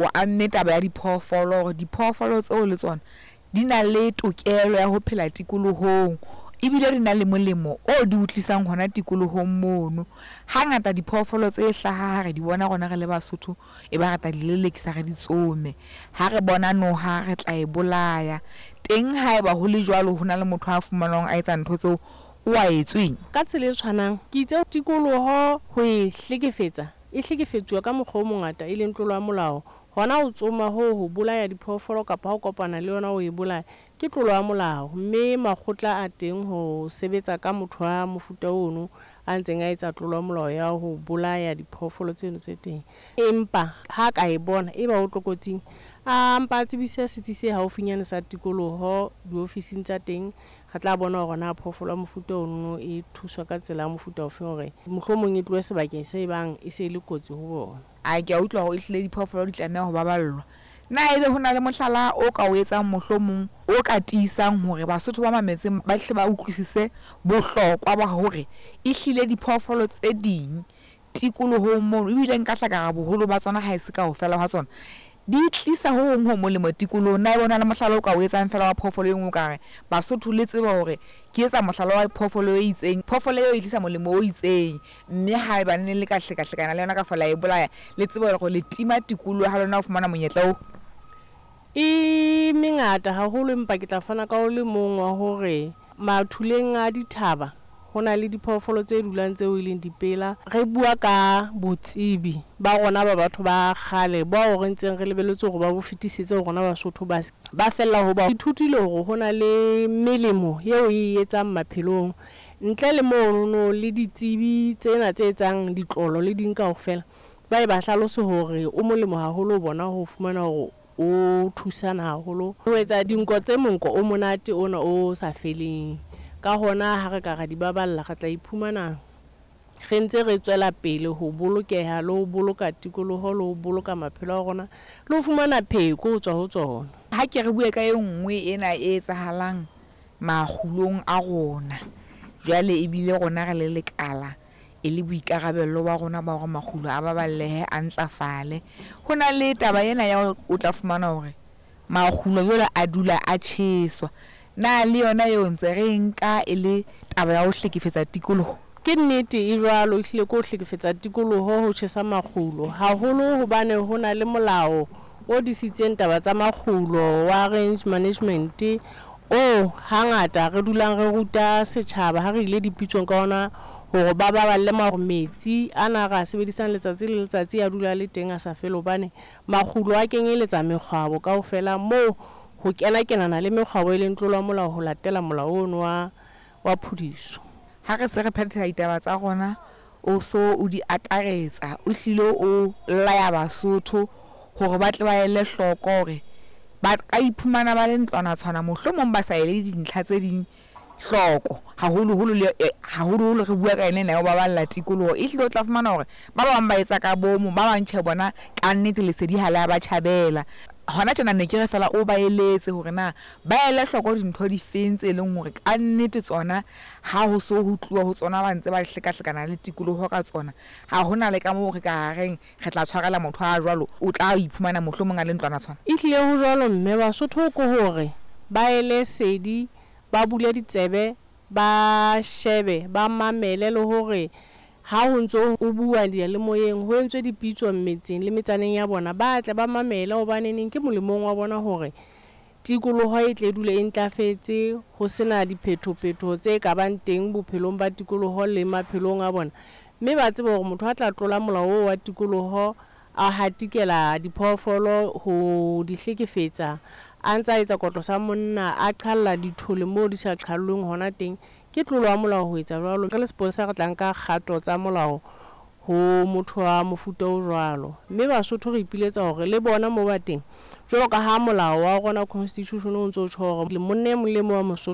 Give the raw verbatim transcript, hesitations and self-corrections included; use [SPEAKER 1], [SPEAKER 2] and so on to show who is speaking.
[SPEAKER 1] O amme taba ya diphoofolo hore diphoofolo tseo le tsona di na le tokelo ya ho phela tikolohong ebile di na le molemo o di o tlisang hona tikolohong mono. Hangata diphoofolo tse hlaha ha re di bona rona re le Basotho, e ba re tla di lelekisa re di tsome. Ha re bona noha re tla e bolaya. Teng haeba ho le jwalo ho na le motho a fumanwang a etsa ntho tseo o a etsweng.
[SPEAKER 2] Ka tsela e tshwanang, ke itse tikoloho ho e hlekefetsa, e hlekefetsuwa ka mokgwa o mongata e leng tlolo ya molao. Hona ho tsoma hoo ho bolaya diphoofolo kapa ha o kopana le yona o e bolaya, ke tlolo ya molao. Mme makgotla a teng ho sebetsa ka motho wa mofuta ono a ntseng a etsa tlolo ya molao ya ho bolaya diphoofolo tseno tse teng. Empa ha ka e bona e ba o tlokotsing, a mpa a tsebise setsi se haufinyane sa tikoloho diofising tsa teng. Re tla bona hore na phoofolo ya mofuta ono e thuswa ka tsela ya mofuta ofe hore mohlomong e tlohe sebakeng se bang e se e le kotsi ho bona.
[SPEAKER 1] A ke a utlwa hore ehlile diphoofolo di tlameha ho baballwa. Na ebe ho na le mohlala o ka o etsang mohlomong o ka tiisang hore Basotho ba mametseng ba hle ba utlwisise bohlokwa ba hore ehlile diphoofolo tse ding tikolohong mono ebile nka hla ka re boholo ba tsona ha e se kaofela ha tsona di tlisa ho hong ho molemo tikolohong. Na ebe ho na le mohlala o ka o etsang feela wa phoofolo e nngwe o ka re Basotho le tsebe hore ke etsa mohlala wa phoofolo e itseng, phoofolo eo e tlisa molemo o itseng, mme haebane le ka hlekahlekana le yona ka la e bolaya, le tsebe hore le tima tikoloho ha lona ho fumana monyetla oo.
[SPEAKER 2] E mengata haholo, empa ke tla fana ka o le mong wa hore mathuleng a dithaba ho na le diphoofolo tse dulang tseo e leng dipela. Re bua ka botsebi ba rona ba batho ba kgale bao re ntseng re lebelletse hore ba bo fetisetse ho rona Basotho ba ba fella ho ba ithutile hore ho na le melemo eo e etsang maphelong. Ntle le monono le ditsebi tsena tse etsang ditlolo le ding kaofela, ba e ba hlalose hore o molemo haholo ho bona ho fumana hore o thusana haholo ho etsa dinko tse monko o monate ona o sa feleng. Ka hona ha re ka ra di baballa, re tla iphumana re ntse re tswela pele ho bolokeha le ho boloka tikoloho le ho boloka maphelo a rona le ho fumana pheko ho tswa ho tsona.
[SPEAKER 1] Ha ke re bue ka e nngwe ena e etsahalang makgulong a rona. Jwale ebile rona re le lekala e le boikarabello ba rona ba hore makgulo a baballehe, a ntlafale. Ho na le taba ena ya hore o tla fumana hore makgulo jwale a dula a tjheswa. Na le yona eo ntse re e nka e le taba ya ho hlekefetsa tikoloho?
[SPEAKER 2] Ke nnete e jwalo, ehlile ke ho hlekefetsa tikoloho ho tjhesa makgulo. Haholo hobane ho na le molao o disitseng taba tsa makgulo wa range management oo hangata re dulang re ruta setjhaba ha re ile dipitsong ka ona hore ba baballe metsi ana re a sebedisang letsatsi le letsatsi a dula a le teng a sa fele hobane makgulo a kenyeletsa mekgwabo kaofela moo ho kena-kenana le mekgwabo e leng tlolo ya molao ho latela molao ono wa wa phudiso.
[SPEAKER 1] Ha re se re phethela ditaba tsa rona, o so o di akaretsa, o hlile o laya Basotho hore ba tle ba ele hloko hore ba ka iphumana ba le ntlwanatshwana mohlomong ba sa ele dintlha tse ding hloko. Haholoholo le haholoholo re bua ka yona ena ya ho baballa tikoloho. Ehlile o tla fumana hore ba bang ba etsa ka bomo, ba bang tjhe bona kannete lesedi ha le a ba tjhabela. Hona tjena ne ke re feela o ba eletse hore na ba ele hloko dintho di feng tse leng hore kannete tsona ha ho so ho tluwa ho tsona ba ntse ba hlekahlekana le tikoloho ka tsona. Ha hona le ka moo re ka reng re tla tshwarela motho a jwalo, o tla iphumana mohlomong a le ntlwanatshwana.
[SPEAKER 2] Ehlile ho jwalo mme Basotho ke hore ba ele sedi, ba bule ditsebe, ba shebe, ba mamele le hore ha ho ntso ho bua diyalemoyeng ho entswe dipitso metseng le metsaneng ya bona, ba tle ba mamele hobaneneng ke molemong wa bona hore tikoloho e tle dule e ntlafetse, ho sena diphetho-phetho tse ka bang teng bophelong ba tikoloho le maphelong a bona. Mme ba tsebe hore motho a tla tlola molao oo wa tikoloho a hatikela diphoofolo ho di hlekefetsa, a ntsa etsa kotlo sa monna, a qhalla dithole moo di sa qhallweng hona teng, ke tlolo ya molao ho etsa jwalo. Re le sepolesa re tla nka kgato tsa molao ho motho wa mofuta o jwalo. Mme Basotho re ipiletsa hore le bona moo ba teng, jwalo ka ha molao wa rona constitution o ntso tjho hore monna e mong le mong wa Mosotho